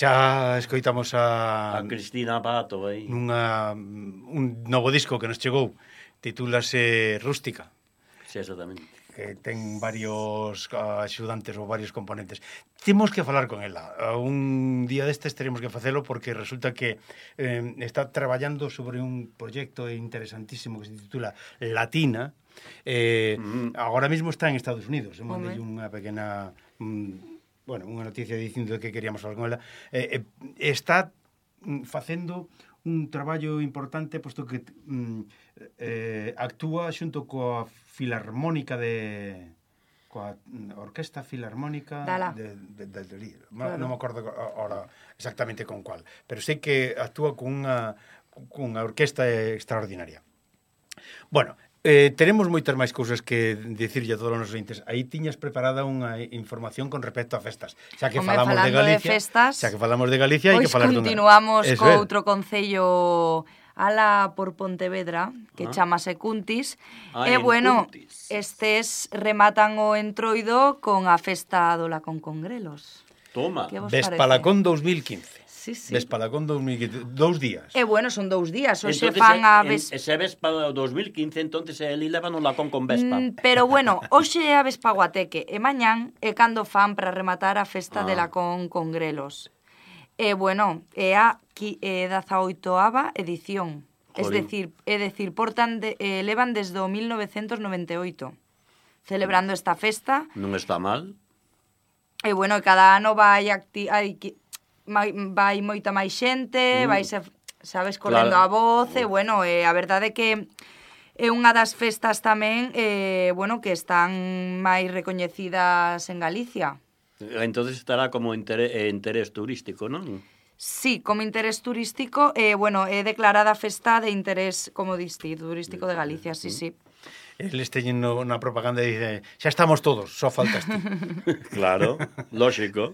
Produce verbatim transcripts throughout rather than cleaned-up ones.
Xa escoitamos a... A Cristina Pato, aí. Nunha, un novo disco que nos chegou, titúlase Rústica. Sí, exactamente. Que ten varios axudantes ou varios componentes. Temos que falar con ela. Un día destes teremos que facelo porque resulta que eh, está traballando sobre un proxecto interesantísimo que se titula Latina. Eh, mm. Agora mesmo está en Estados Unidos. Mandei unha pequena... Mm, bueno, unha noticia dicindo que queríamos falar con ela. Eh, eh, está facendo un traballo importante, posto que mm, eh, actúa xunto coa Filarmónica de... coa Orquesta Filarmónica de, de, de, de, de claro. Non me acordo ahora exactamente con cual, pero sei que actúa con unha, con unha orquesta extraordinaria. Bueno, Eh, teremos moitas máis cousas que dicirlle a todos os nosos ointes. Aí tiñas preparada unha información con respecto a festas. Xa que Home, falamos de Galicia, de festas, xa que falamos de Galicia, hai que falar dunha. Pois continuamos co outro concello ala por Pontevedra, que ah. chamase Cuntis. Ah, e bueno, Cuntis. estes rematan o entroido con a festa do Lacón Congrelos. Toma. Vespalacón dous mil quince. Sí, sí. Vespalacón dos mil quince, dous días. E bueno, son dous días, hoxe entonces, fan a ves... Ese Vespa dos mil quince, entonces el levan o Lacón con Vespa. Mm, pero bueno, hoxe é a Vespa Guateque, e mañán é cando fan para rematar a festa ah. de Lacón con Grelos. E bueno, é a dezaoitoava edición. Es decir, é decir, portan de, eh, levan desde o mil novecentos noventa e oito celebrando esta festa. Non está mal. E bueno, cada ano vai acti... hai vai moita máis xente, mm. vai se, sabes, correndo claro. a voz, e bueno, e a verdade é que é unha das festas tamén, eh, bueno, que están máis recoñecidas en Galicia. Entonces estará como interés, interés turístico, non? Sí, como interés turístico, eh, bueno, é declarada festa de interés, como diste, turístico de Galicia, sí, sí. Eles teñen na propaganda e dice, xa estamos todos, só faltas ti. Claro, lógico.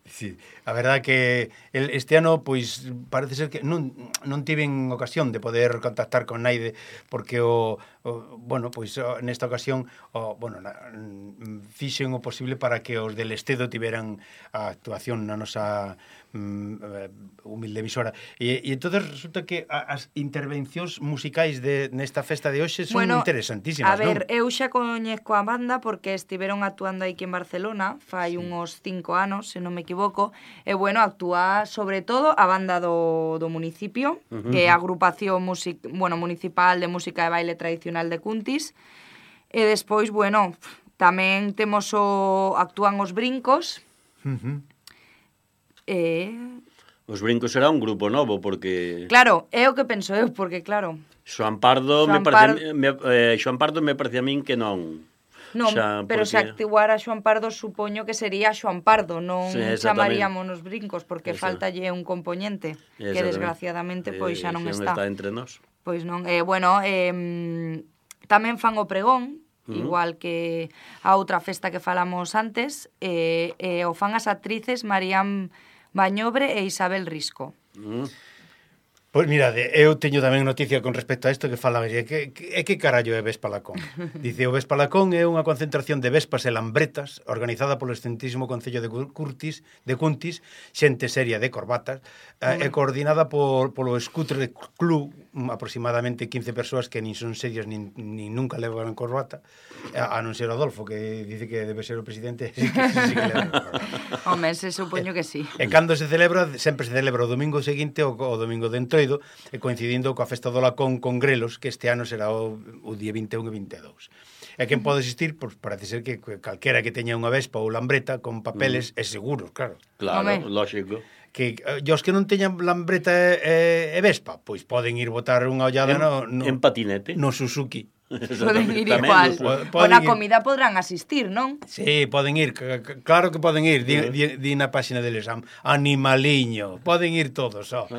Sí, a verdade que el, este ano, pois, parece ser que non, non tiven ocasión de poder contactar con naide, porque o, o bueno, pois, o, nesta ocasión, o, bueno, na, fixen o posible para que os del Estedo tiveran a actuación na nosa mm, humilde emisora. E, e entonces resulta que as intervencións musicais de nesta festa de hoxe son bueno, interesantísimas, a ver, non? eu xa coñezco a banda porque estiveron actuando aquí en Barcelona fai sí. uns cinco anos, se non me equivoco, e bueno, actúa sobre todo a banda do, do municipio, uh-huh. que é a agrupación music, bueno, municipal de música e baile tradicional de Cuntis, e despois, bueno, tamén temos o actúan os Brincos, uh-huh. e... Os Brincos será un grupo novo, porque... Claro, é o que penso eu, porque claro... Xoan Pardo, Xoan me parece, Pardo... me, eh, Xoan Pardo me parece a min que non... Non, xa, pero porque... se actuara Xoan Pardo, supoño que sería Xoan Pardo, non sí, chamaríamos nos Brincos, porque Esa. faltalle un componente que desgraciadamente pois xa non eh, está. está entre nós. Pois non, eh, bueno, eh, tamén fan o pregón, uh-huh. igual que a outra festa que falamos antes, e eh, eh, o fan as actrices Marían Bañobre e Isabel Risco. Uh-huh. Pois mirade, eu teño tamén noticia con respecto a isto que fala, é que, que, que carallo é Vespalacón? Dice, o Vespalacón é unha concentración de vespas e lambretas organizada polo excelentísimo Concello de Curtis, de Cuntis, xente seria de corbatas, uh-huh. e coordinada por, polo Scooter Club, aproximadamente quince persoas que nin son serias nin, nin nunca levan corbata, a, a non ser Adolfo, que dice que debe ser o presidente, sí que, sí que leva corbata. Home, se supoño que sí. E cando se celebra, sempre se celebra o domingo seguinte o, o domingo de entroido, e coincidindo coa festa do Lacón con Grelos, que este ano será o, o día vinte e un e vinte e dous. E quen pode existir? Pois parece ser que calquera que teña unha vespa ou lambreta con papeles mm. é seguro, claro. Claro, Home. lógico. Que e os que non teñan lambreta e, e vespa, pois poden ir botar unha ollada en, no, no, en patinete. No Suzuki. Poden ir igual. O na comida podrán asistir, non? Sí, poden ir, claro que poden ir. Di, di, di na página deles, animaliño. Poden ir todos, ó.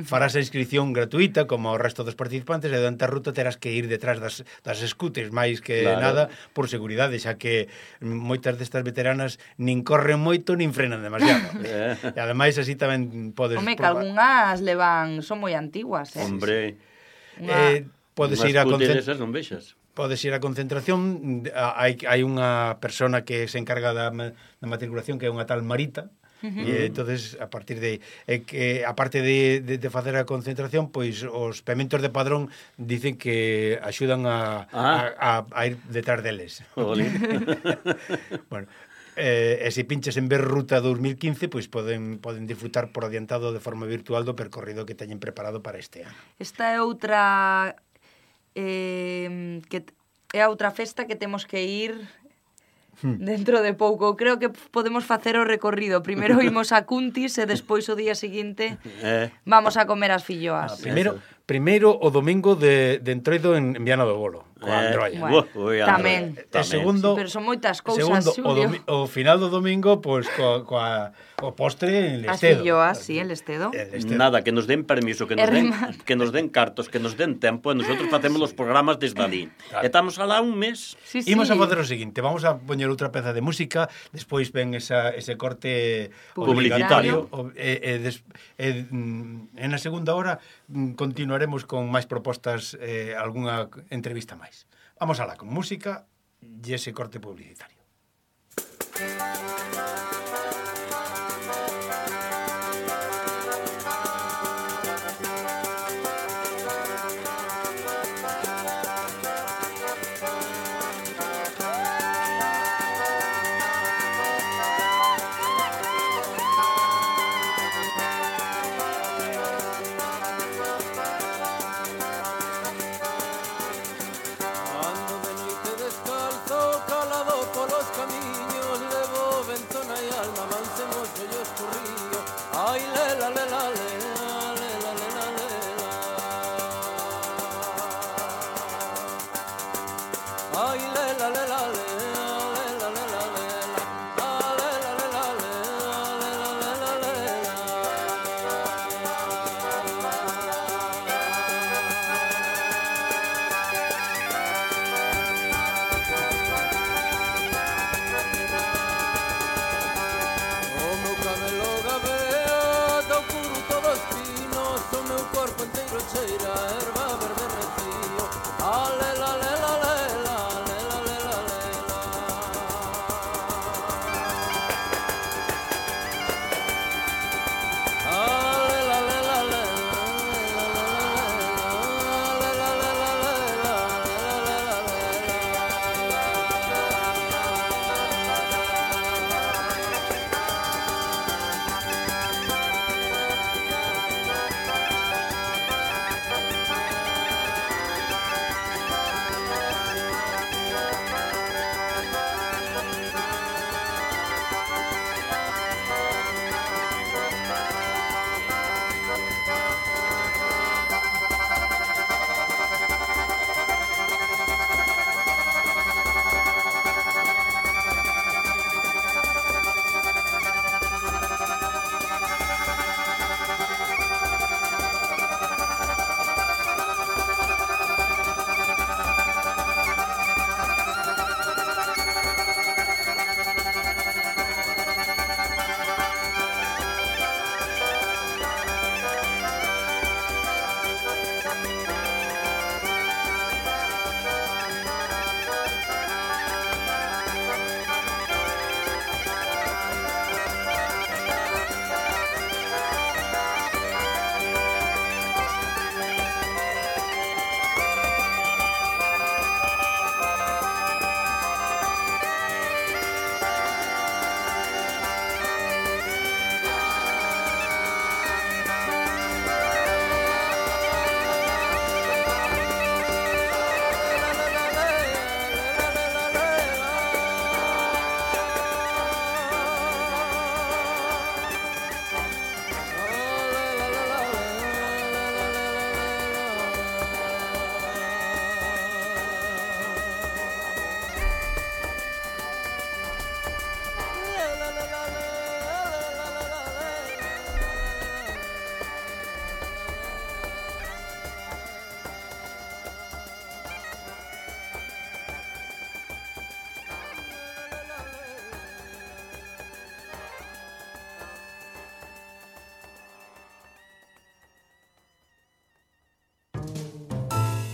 Farás a inscripción gratuita, como o resto dos participantes, e durante a ruta terás que ir detrás das, das scooters, máis que claro. nada, por seguridade, xa que moitas destas veteranas nin corren moito, nin frenan demasiado. E ademais, así tamén podes... Home, que algunhas levan, son moi antiguas, eh? Hombre... Eh, podes ir a concentración. Podes ir a concentración, hai, hai unha persona que se encarga da, da matriculación, que é unha tal Marita, E entonces a partir de eh, que a parte de, de, de facer a concentración, pois os pementos de Padrón dicen que axudan a, Ah. a, a, a ir detrás deles. Jolín. Bueno, eh, e se pinches en ver Ruta dos mil quince, pois poden poden disfrutar por adiantado de forma virtual do percorrido que teñen preparado para este ano. Esta é outra eh, que é a outra festa que temos que ir dentro de pouco. Creo que podemos facer o recorrido. Primeiro imos a Cuntis e despois o día seguinte Eh. vamos a comer as filloas. Ah, primeiro, primeiro o domingo de, de Entroido en, en Viana do Bolo, coa Eh, Androia. Bueno, Ui, tamén. E segundo, Pero son moitas cousas, segundo o, Xulio. domi o final do domingo, pois coa, coa o postre en As Lestedo. filloas, sí, el Estedo. El Lestedo. Nada, que nos den permiso, que nos E den, remate. que nos den cartos, que nos den tempo, e nosotros facemos os programas desde ali. Claro. E estamos alá un mes. Sí, sí. Imos a facer o seguinte, vamos a poñer outra peza de música, despois ven esa, ese corte Publicitario. obligatorio, o- e, e, des, e, mm, en a segunda hora mm, continuaremos con máis propostas, eh, algunha entrevista máis. Vamos alá con música e ese corte publicitario. Ando de noite descalzo, calado polos camiños, levo ventona e alma, avancemos yo escurrío. Ai, lela, lela, lela, lela, lela, lela. Ai, lela, lela, lela, lela, lela, lela. Ah, lela, lela, lela, lela, lela, lela. O meu cabelo gabea, do curo todos pinos, o meu corpo inteiro cheira a erva verde recio. Ah, lela, lela, lela, lela, lela, lela. Ah, lela, lela, lela, lela, lela, lela, lela, lela, lela,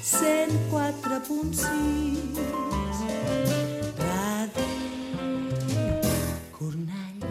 cent quatre punt sis Ràdio Cornellà.